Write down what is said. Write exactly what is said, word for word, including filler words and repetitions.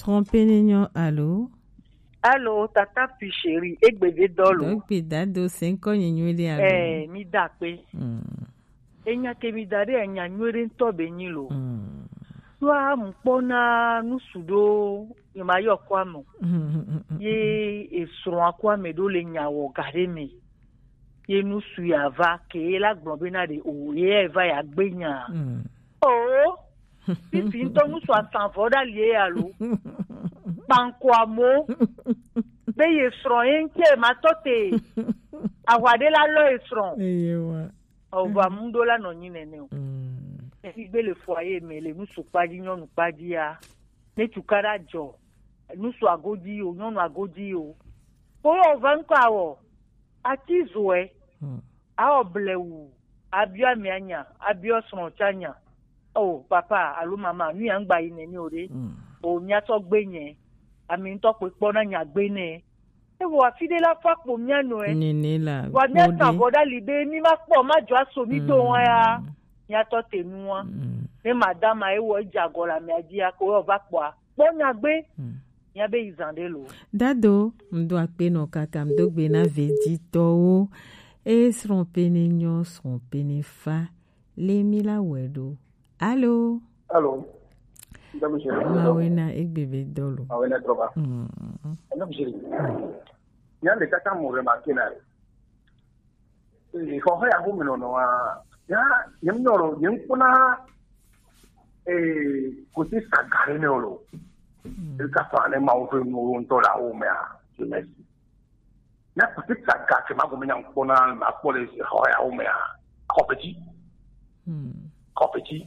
Trompe ne nyo alo? Alo, tata pi chéri, egbe de dɔlo. Dɔgbe dado se ŋkɔ nye nyuie ɖe alo? Eh, mi da kpe. Mm. Enya ke mi da ɖe, enya nyuie ɖe ŋutɔ be nyi lo. Mm. Ɖoa mu kpɔ na nusu ɖo, ye ma yɔ kɔ ame o. Mm. Ye esrɔ̃ akɔ ame ɖo le nya wɔ ga ɖe me. Ye nusu ya va ke ye la gblɔ be na ɖe o, ye ya va ya gbe nya. Mm. Oh, fifi ŋutɔ nusu asanvɔ ɖa lie alo. Kpankɔ amo. Be ye srɔ̃ ye ŋke ma tɔ te. Ahwa ɖe la lɔ ye srɔ̃. Eye wa. Ova mu ɖo la nɔ nyi nene o. Mm. Efi gbe le foyer me le nusu kpadzi, nyɔnu kpadzi ya. Ne tukaɖa dzɔ, nusu agodzi o, nyɔnu agodzi o. Ko ova ŋkɔ awɔ. Ati zoe. Hmm. Awɔ blewu. Abiɔ amea nya, abiɔ srɔ̃ tsa nya. O papa alo mama, nu ya ŋgba yi nene o ɖe. Hmm. O mia tɔ gbe nye. Ami ŋutɔ kpe kpɔ na nya gbe ne. Ewo afi ɖe la fa kpo mia nɔ e. Nene la. Wa mia ta vɔ ɖa li be mi ma kpɔ ma dzɔ aso mi do wa ya. Hmm. Mia tɔ te nu wa. Hmm. Ne madama ewɔ edze agɔ le amea dzi ya ko eva kpɔa. Kpɔ nya gbe. Hmm. Mia be yi zan ɖe lo. Dado, ŋdo akpe nɔ kaka ŋdo gbe na veditɔwo. E srɔ̃ pe ne nyɔ, srɔ̃ pe ne fa. Le mi la wɛ ɖo. Alo? Alo? Mawe na egbe be dɔlo. Mawe na drɔba. Mm. Nya le kaka mo remarqué na. Ee, xɔxɔ ya ƒome nɔnɔa, ya, nye ŋutɔ lɔ, nye ŋkpɔna, ee, kote saga ɖe nɛ o lo. Eka fa ne Mawu ƒe nuwo ŋutɔ le awo mea, je me si. Na kote saga ke ma gome nya ŋkpɔna, ma kpɔ le xɔ ya wo mea, xɔ petit. Hmm. Xɔ petit.